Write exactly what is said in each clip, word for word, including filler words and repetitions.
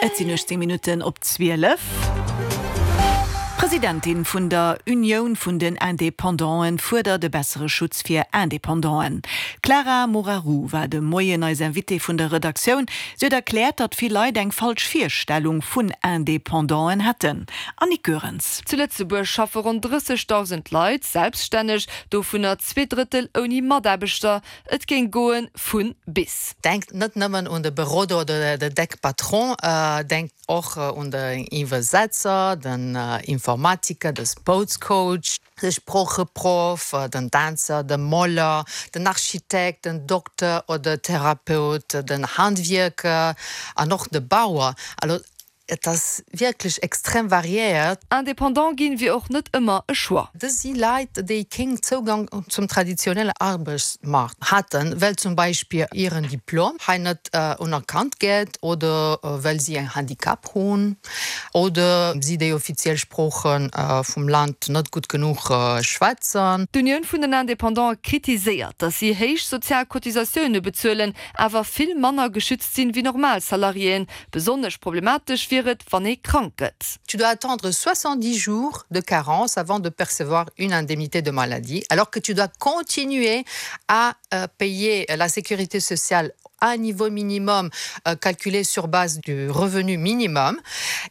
Et sinn uechtzéng Minutten op zwielef. D'Presidentin vun der Unioun vun den Independanten fuerdert e bessere Schutz fir Independanten. D'Clara Moraru war de Moien eis Invitée vun der Redaktioun. Si huet erkläert, datt vill Leit eng falsch Virstellung vun Independanten hätten. Annick Goerens. Zu Lëtzebuerg schaffe ronn drëssegdausend Leit selbststänneg, dovunner zwee Drëttel ouni Mataarbechter. Et géing goe vu bis. Denkt net nëmmen un de Beroder oder de deck Patron, denkt och un den Iwwersetzer, den Informatiker, de Sportscoach, de Sproocheproff, den Dänzer, de Moler, den Architekt, den Dokter oder Therapeut, den Handwierker an och de Bauer. Also et ass wierklech extrem variéiert. Independant ginn wier och net ëmmer e Choix. Dës si Leit, déi keen Zougang zum traditionelle Aarbechtsmaart haten, well zum Beispill hiren Diplom hei net unerkannt gëtt oder well si en Handicap hunn oder si déi offiziell Sprooche vum Land net gutt genuch schwätzen. D'Unioun vun den Independante kritiséiert, datt si héich sozial Cotisatioune bezuelen, awer vill manner geschützt sinn wéi normal Salariéen. Besonnesch problematesch wier et, wann ee krank gëtt. Tu dois attendre soixante-dix jours de carence avant de percevoir une indemnité de maladie, alors que tu dois continuer à payer la sécurité sociale à un niveau minimum calculé sur base du revenu minimum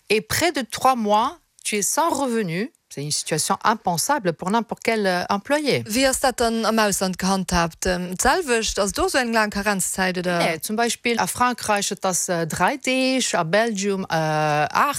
et près de trois mois tu es sans revenu. C'est une situation impensable pour n'importe quel employé. Wéi ass dat dann am Ausland gehandhaabt? D'selwecht? Ass do sou eng laang Karenzzäit oder? Nee, zum Beispill a Frankräich et ass dräi Deeg, a Belgium aacht.